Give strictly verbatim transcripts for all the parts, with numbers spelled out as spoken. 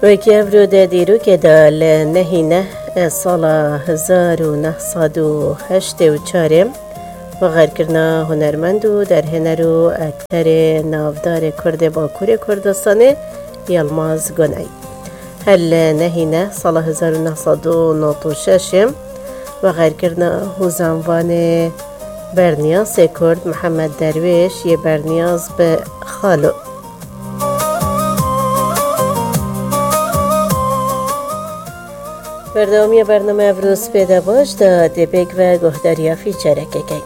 Wekî evro de dîrokê de li nehî neh sala hezar û neh sed û heştê û çarê vexerkirina hunermend û derhêner û ekterê navdarê Kurdê Bakurê Kurdistanê Yilmaz Guney. Her li nehî neh sala hezar û neh sed û nod û şeş vexerkirina hûzanvanê berniyasê Kurd Mihemed Derwêş yê berniyaz bi Xalo. Berdewamiya bername Evro Spêde Baş de dê pêk ve guhdariya fîçerekê key.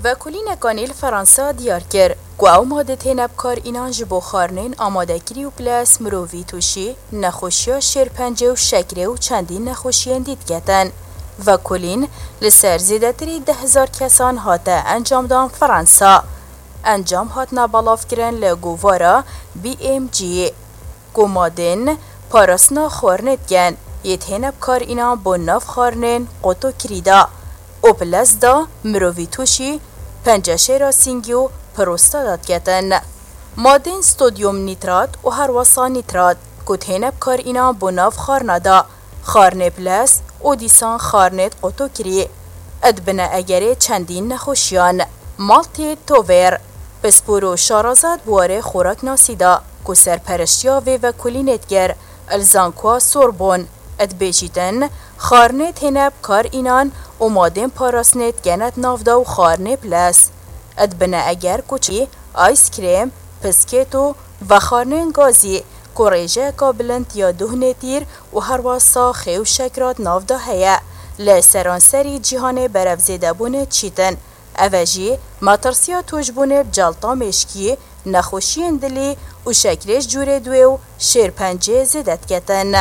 Vekolînekanî li Fransa diyar kir ku ew madê têne bi kar înan ji bo xwarinên amadekirî û piles mirovî tûşî nexweşiya şêrpencê û şekrê û çendîn nexweşiyên dî diketin. Vekolîn li ser zêdetirî deh hezar kesan hate encamdan Fransa. Encam hatine belavkirin li govara B M G. Ku madên parastina xwarinê dikin, yê têne bi kar înan bo nav xwarinên qotokirî de û bi lez de mirovî tûşî penceşêra sîngî û prostata diketin. Madên stodyum nîtrat û herwasa nîtrat ku têne bi kar înan bo nav xwarina de, xwarinê bi lez û dîsan xwarinê qotokirî, dibine egerê çendîn nexweşiyan. Maltê Tovêr, pispor û şaraza di warê xoraknasî de ku serpereştiya vê vekolînê dikir, li Zankoa Sorbon, dibêjîtin, xwarinê têne bi kar înan û madên parastinê dikene di nav de û xwarinê bi lez, dibine eger ku çî, ayskrêm, piskêt û vexwarinên gazî ku rêjeyeka bilind ya duh nêtîr û herwasa xê û şekra di nav de heye, li seranserî cîhanê berevzêdebûnê diçîtin. Ev e jî metirsiya tûşbûnê bi celta mêşkî, nexweşiyên dilî û şekrê ji cûrê duê û şêrpencê zêde diketin.